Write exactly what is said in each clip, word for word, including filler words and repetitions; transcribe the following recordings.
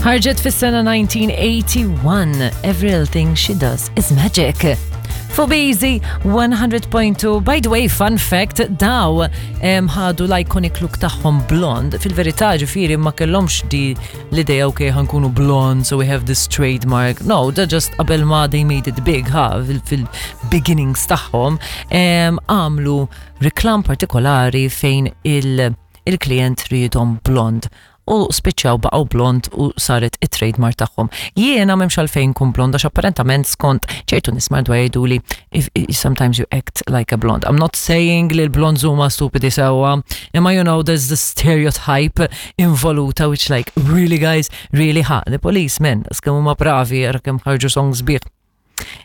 Ħarġet fis-sena nineteen eighty-one. Every Little Thing She Does Is Magic. Fuq B-Easy one hundred point two. By the way, fun fact, daw em, ħadu l-iconic look tagħhom blond. Fil-verità, ġifieri, ma kellhomx di l-idea, "Okay, ħa nkunu blond, so we have this trademark." No, da just qabel ma they made it big, ha, fil-beginnings tagħhom, em, għamlu reklam partikolari fejn il- il-klient riedhom blond u spiċċaw baqgħu blond u saret it-trademark tagħhom. Jiena m'hemmx għalfejn kun blond għax apparentament skont ċertu nies madwar jgħidu li if, if sometimes you act like a blonde. I'm not saying li l-blonds huma stupidi, sewwa, imma you know there's the stereotype involuta which, like, really guys, really, ha, The Police, man, kemm huma bravi, ara kemm ħarġu songs sbieħ.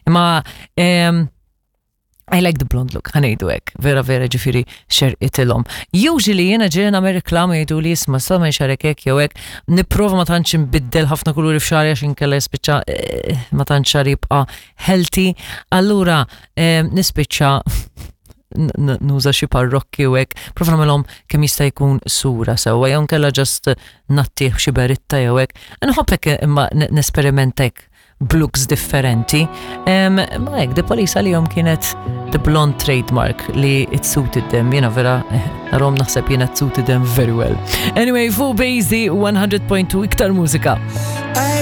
Imma um, I like the blonde look, ħa ngħidu hekk, vera vera ġifieri xerqitilhom. Usually jiena ġejna me reklami jgħidu li isma' sa ma xarek hekk jew hekk, nipprova ma tantx nbiddel ħafna kuluri f'xagħri għax inkella jispiċċa eh, ma tantx xagħri jibqa' healthy. Allura eh, nispiċċa nuża xi parrokki u hekk, prova nagħmelhom kemm jista' jkun sura sewwa, jew nkella just ngħattih xi beritta jew hekk. Nħobb hekk imma nesperimenta hekk b'looks differenti. Um, ma hekk, The Police għalihom kienet the blonde trademark li it suited them, jiena vera, eh, narahom naħseb jiena it suited them very well. Anyway, fuq B-Easy one hundred point two, iktar mużika. I